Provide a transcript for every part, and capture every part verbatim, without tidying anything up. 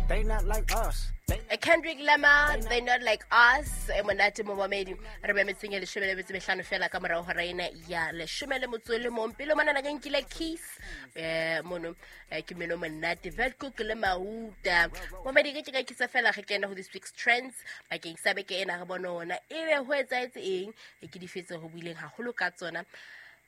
They not like us. Kendrick Lamar, They Not Like Us. E monate momamedi, re be metseng ya leshome le metso e mehlano fela ka morao hora ena ya leshome le motso le mong. Pele monana ke nkile kiss eh mono eh, ke meno monate Vetkoek le Mahuta. Momamedi, ke ka kisa fela re kena ho this week's trends bakeng sa beke ena, re bone ona ebe ho etsahetse eng, e ke difetse ho buileng haholo ka tsona.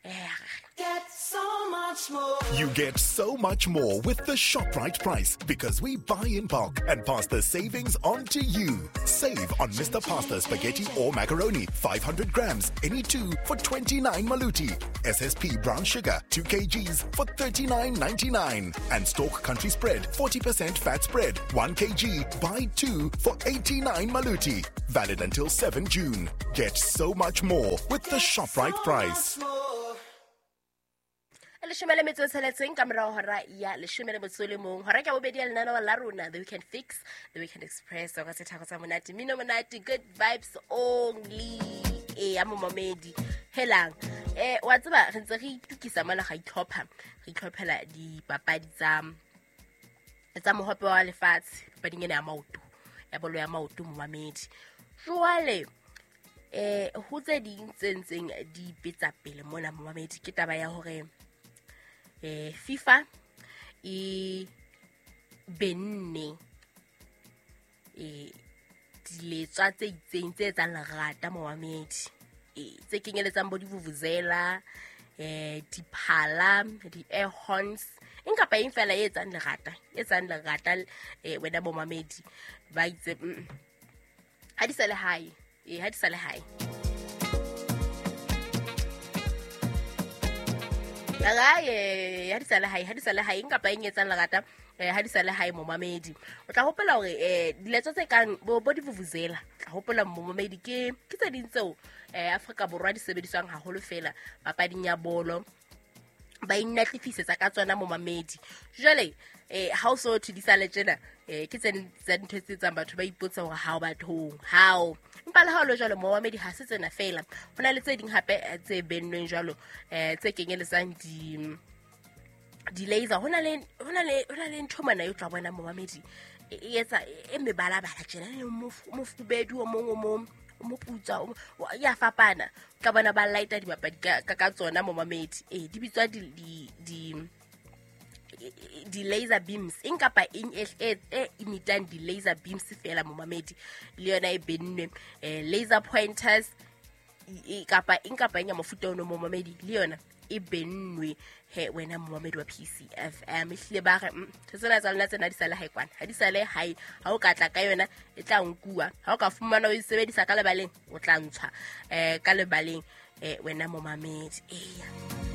Eh, Get so much more. You get so much more with the ShopRite price because we buy in bulk and pass the savings on to you. Save on Mister Pasta spaghetti or macaroni, five hundred grams, any two for twenty-nine maluti. S S P brown sugar, two kilograms for thirty-nine ninety-nine. And Stork Country Spread, forty percent fat spread, one kilogram, buy two for eighty-nine maluti. Valid until seven June. Get so much more with the ShopRite price. Leshome le metso e tsheletseng ka morao hora ya leshome le motso le mong, hora ke ya bobedi ya lenaneo la rona The Weekend Fix, The Weekend Express, ka sethako tsa monate, mmino monate, good vibes only. E ya momamedi, helang eh wa tseba re ntse re itukisa mona, ga itlhopha, re itlhophela dipapadi tsa tsa mohope wa lefatshe, papading ena ya maoto, ya bolo ya maoto momamedi. Jwale eh ho tse ding tse ntseng di betsa pele mona momamedi, ke taba ya hore eh FIFA e benne eh diletswa tse itseng tse etsang lerata momamedi, eh tse kenyeletsang bo divuvuzela, eh diphala, di-air horns, eng kapa eng fela e etsang lerata, e etsang lerata eh wena momamedi, ba itse ha di sa le hae, eh ha di sa le hae. Hae, ha di sa le hae, ha di sa le hae, eng kapa eng e etsang lerata, eh ha di sa le hae momamedi. O tla hopola hore eh diletso tse kang bo bo divuvuzela, tla hopola momamedi ke ke tse ding tseo eh Afrika Borwa di sebediswang haholo fela papading ya bolo, ba inatlifisetsa ka tsona momamedi. Jwale eh ha o so thwe di sa le tjena, eh ke tse tsa dintho tse etsang batho ba ipotsa hore ha o bathong, hao. Empa le ha o le jwalo momamedi, ha se tsena fela, ho na le tse ding hape tse bennweng jwalo eh tse kenyeletsang di di-laser. Ho na le ho na le ho na le ntho mona e tla bona momamedi e etsa e mebalabala tjena, le mofubedu o mong o mong moputsa ya fapana, ka bona ba lighta dibapadi ka ka tsona momamedi. Eh di bitswa di di di di laser beams, eng kapa eng e e imitang di laser beams fela momamedi, le yona e bennwe. Eh laser pointers kapa eng kapa eng ya mofuta ono momamedi, le yona e bennwe. He wena momamedi wa P C F M, ehlile ba re tsena tsa lona tsena di sa le hae kwana, ha di sa le hae, ha o ka tla ka yona e tla nkuwa, ha o ka fumana o e sebedisa ka lebaleng o tla ntshwa eh ka lebaleng eh wena momamedi. Eya.